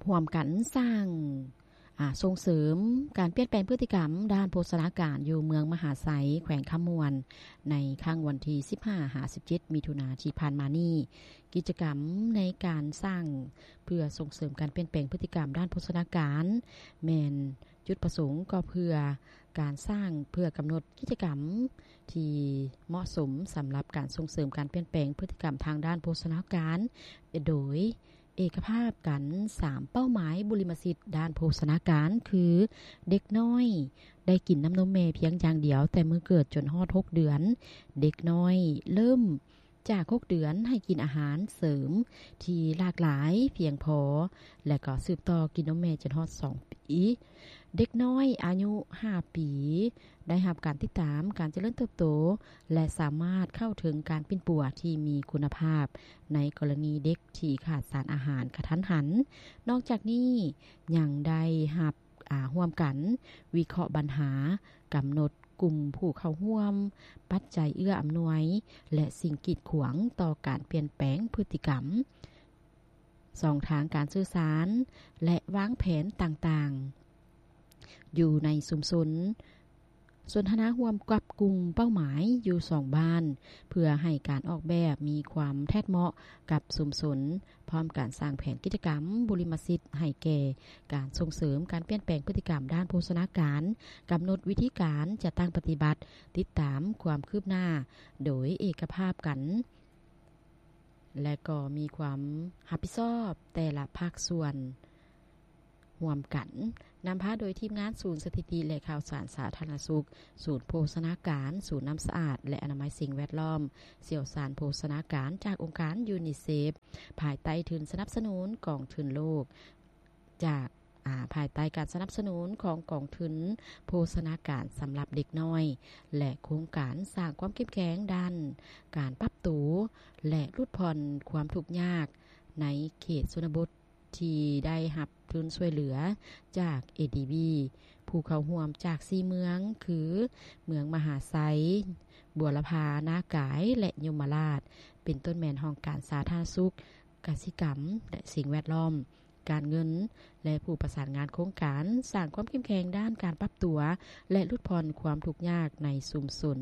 ຮ່ວມກັນສ້າງ ອາ ສົ່ງເສີມການປ່ຽນແປງພຶດຕິກຳດ້ານໂພຊະນາການຢູ່ເມືອງມະຫາໄຊ ແຂວງຄຳມ່ວນ ໃນຄັ້ງວັນທີສິບຫ້າຫາສິບເຈັດ ມິຖຸນາທີ່ຜ່ານມານີ້. ກິດຈະກຳໃນການສ້າງເພື່ອສົ່ງເສີມການປ່ຽນແປງພຶດຕິກຳດ້ານໂພຊະນາການ ແມ່ນຈຸດປະສົງກໍເພື່ອການສ້າງ ເພື່ອກຳນົດກິດຈະກຳທີ່ເໝາະສົມສຳລັບການສົ່ງເສີມການປ່ຽນແປງພຶດຕິກຳທາງດ້ານໂພຊະນາການ ໂດຍ ເອກະພາບກັນສາມເປົ້າໝາຍບຸລິມະສິດດ້ານໂພຊະນາການ ຄື ເດັກນ້ອຍໄດ້ກິນນ້ຳນົມແມ່ພຽງຢ່າງດຽວແຕ່ມື້ເກີດຈົນຮອດຫົກເດືອນ, ເດັກນ້ອຍເລີ່ມຈາກຫົກເດືອນໃຫ້ກິນອາຫານເສີມທີ່ຫຼາກຫຼາຍພຽງພໍ ແລະກໍສືບຕໍ່ກິນນົມແມ່ຈົນຮອດສອງປີ, ເດັກນ້ອຍອາຍຸຫ້າປີ ໄດ້ຮັບການຕິດຕາມການຈະເລີນເຕີບໂຕ ແລະສາມາດເຂົ້າເຖິງການປິ່ນປົວທີ່ມີຄຸນນະພາບ ໃນກໍລະນີເດັກທີ່ຂາດສານອາຫານກະທັນຫັນ. ນອກຈາກນີ້ຍັງໄດ້ຮັບ ອາ ຮ່ວມກັນວິເຄາະບັນຫາ, ກຳນົດກຸ່ມຜູ້ເຂົ້າຮ່ວມ, ປັດໄຈເອື້ອອຳນວຍ ແລະສິ່ງກີດຂວາງຕໍ່ການປ່ຽນແປງພຶດຕິກຳ, ຊ່ອງທາງການສື່ສານ ແລະວາງແຜນຕ່າງໆ ຢູ່ໃນຊຸມຊົນ. ສົນທະນາຮ່ວມກັບກຸ່ມເປົ້າໝາຍຢູ່ສອງບ້ານ ເພື່ອໃຫ້ການອອກແບບມີຄວາມແທດເໝາະກັບຊຸມຊົນ, ພ້ອມການສ້າງແຜນກິດຈະກຳບຸລິມະສິດໃຫ້ແກ່ການສົ່ງເສີມການປ່ຽນແປງພຶດຕິກຳດ້ານໂພຊະນາການ, ກຳນົດວິທີການຈັດຕັ້ງປະຕິບັດ, ຕິດຕາມຄວາມຄືບໜ້າໂດຍເອກະພາບກັນ ແລະກໍມີຄວາມຮັບຜິດຊອບແຕ່ລະພາກສ່ວນຮ່ວມກັນ. ນຳພາໂດຍທີມງານສູນສະຖິຕິ ແລະ ຂ່າວສານສາທາລະນະສຸກ, ສູນໂພຊະນາການ, ສູນນ້ຳສະອາດ ແລະ ອະນາໄມສິ່ງແວດລ້ອມ, ຊ່ຽວຊານໂພຊະນາການຈາກອົງການຢູນິເຊຟ ພາຍໃຕ້ທຶນສະໜັບສະໜູນກອງທຶນໂລກ ຈາກ ອາ ພາຍໃຕ້ການສະໜັບສະໜູນຂອງກອງທຶນໂພຊະນາການສຳລັບເດັກນ້ອຍ ແລະ ໂຄງການສ້າງຄວາມເຂັ້ມແຂງດ້ານການປັບໂຕ ແລະ ຫຼຸດຜ່ອນຄວາມທຸກຍາກໃນເຂດຊົນນະບົດ ທີ່ໄດ້ຮັບທຶນຊ່ວຍເຫຼືອຈາກ ເອດີບີ ຜູ້ເຂົ້າຮ່ວມຈາກສີ່ເມືອງ ຄື ເມືອງມະຫາໄຊ, ບົວລະພາ, ນາກາຍ ແລະ ຍົມມະລາດ ເປັນຕົ້ນແມ່ນຫ້ອງການສາທາລະນະສຸກ, ກະສິກຳ ແລະ ສິ່ງແວດລ້ອມ, ການເງິນ ແລະ ຜູ້ປະສານງານໂຄງການສ້າງຄວາມເຂັ້ມແຂງດ້ານການປັບຕົວ ແລະ ຫຼຸດຜ່ອນຄວາມທຸກຍາກໃນຊຸມຊົນ.